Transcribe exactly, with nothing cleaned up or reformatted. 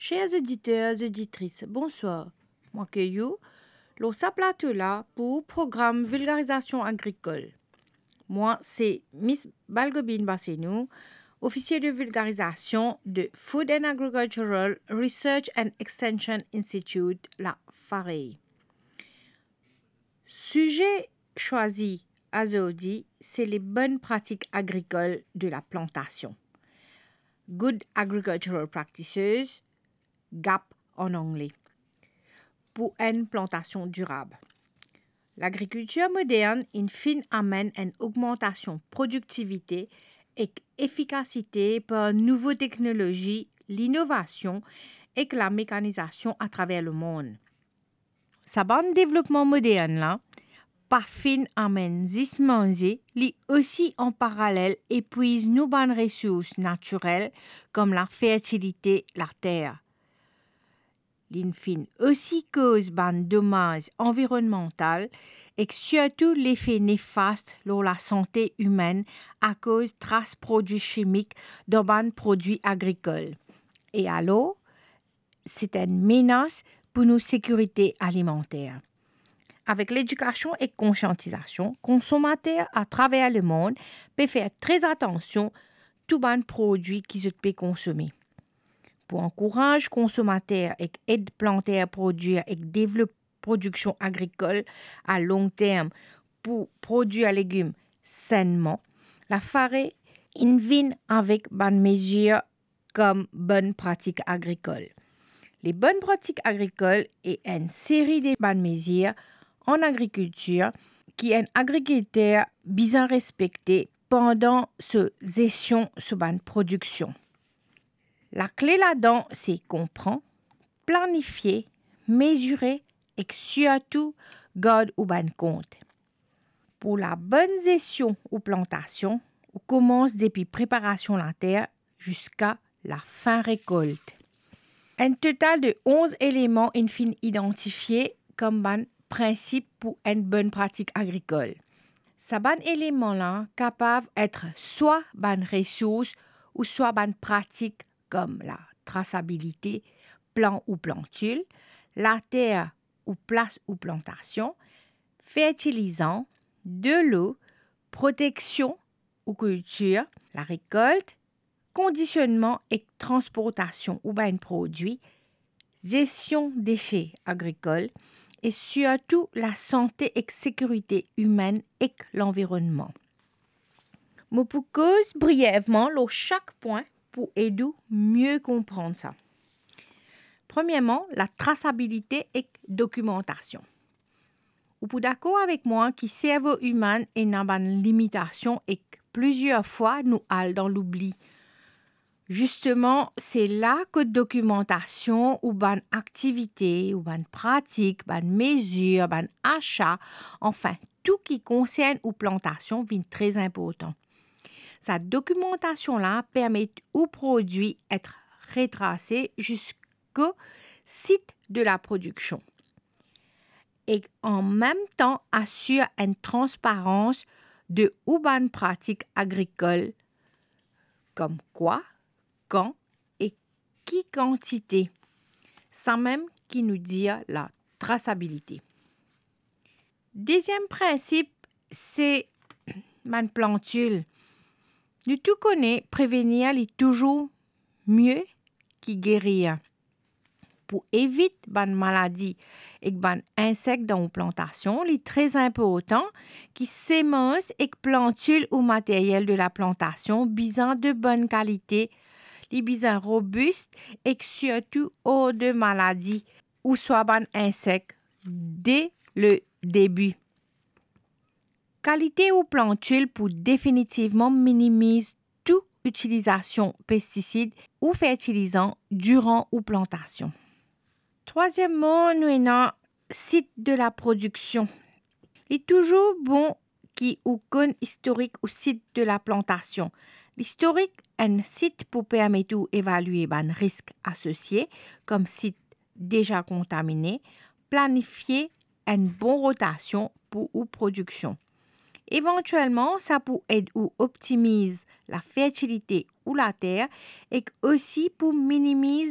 Cher oditer, oditris, bonswar. Mo akey ou lor sa plato la pou program Vilgarizasion Agrikol. Mwa se Miss Balgobine Basenou, ofisie de vilgarizasion de Food and Agricultural Research and Extension Institute, la FAREI. Size swazi azordi se les bonnes pratiques agricoles de la plantation, Good Agricultural Practices, gap an angle, pou enn plantasion dirab. Lagrikiltir modern inn finn amenn enn ogmantasion prodiktivite ek efikasite par nouvo teknolozi, linovasion ek lamekanizasion atraver lemond. Sa bann devlopman modern la pa finn amenn zis manze, li osi an paralel epwiz nou bann resours natirel, kom lafertilite later. Li finn osi koz bann domaz anvironnmantal ek sirtou lefe nefast lor lasante imenn akoz tras prodwi simik dan bann prodwi agrikol. E alor, se enn menas pou nou sekirite alimanter. Avek ledikasion ek konsiantizasion, konsomater atraver lemond pe fer tre atansion tou bann prodwi ki zot pe konsome. Pou ankouraz konsomater ek ed planter prodwir ek devlop prodiksion agrikol a long term pou prodwir legim sennman, la FAREI inn vinn avek bann mezir kom bonnes pratiques agricoles. Les bonnes pratiques agricoles e enn seri de bann mezir an agrikiltir ki enn agrikilter bizin respekte pandan so zestion so bann prodiksion. Lakle ladan se konpran, planifie, mezire ek sirtou gard ou bann kont. Pou labonn zestion ou plantasion, ou koumans depi preparasion later ziska lafin rekolt. Enn total de onz eleman inn finn idantifie kom bann prinsip pou enn bonn pratik agrikol. Sa bann eleman la kapav et swa bann resours ou swa bann pratik kom latrasabilite plan ou plantil, later ou plas ou plantasion, fertilizan, delo, proteksion ou kiltir, larekolt, kondisionnman ek transportasion ou bann prodwi, zestion dese agrikol e sirtou lasante ek sekirite imenn ek lanvironnman. Mo pou koz brievman lor sak pwin pou ed ou mie konpran sa. Premierman, latrasabilite ek dokimantasion. Ou pou dakor avek mwa ki servo imenn ena bann limitasion ek plizier fwa nou al dan loubli. Zisteman, se la kot dokimantasion ou bann aktivite, ou bann pratik, bann mezir, bann asa, anfin, tou ki konsern ou plantasion vinn tre inportan. Sa dokimantasion la permet ou prodwi et retrase ziska sit de laprodiksion. E an mem tan asir enn transparans de ou bann pratik agrikol, kom kwa, kan e ki kantite, samem ki nou dir latrasabilite. Deziem prinsip, se bann plantil. Nou tou kone prevenir li touzour mie ki gerir. Pou evit bann maladi ek bann insek dan ou plantasion, li tre inportan ki semans ek plantil ou materiel de laplantasion bizin de bonn kalite, li bizin robis ek sirtou or de maladi ouswa bann insek de le debi. Kalite ou plantil pou definitivman minimiz tou itilizasion pestisid ou fertilizan diran ou plantasion. Trwaziem mo, nou ena sit de laprodiksion. Li touzour bon ki ou konn istorik ou sit de laplantasion. Listorik enn sit pou permet ou evalie bann risk asosie, kom sit deza kontamine, planifie enn bon rotasion pou ou prodiksion. Evantielman, sa pou ed ou optimiz lafertilite ou later ek osi pou minimiz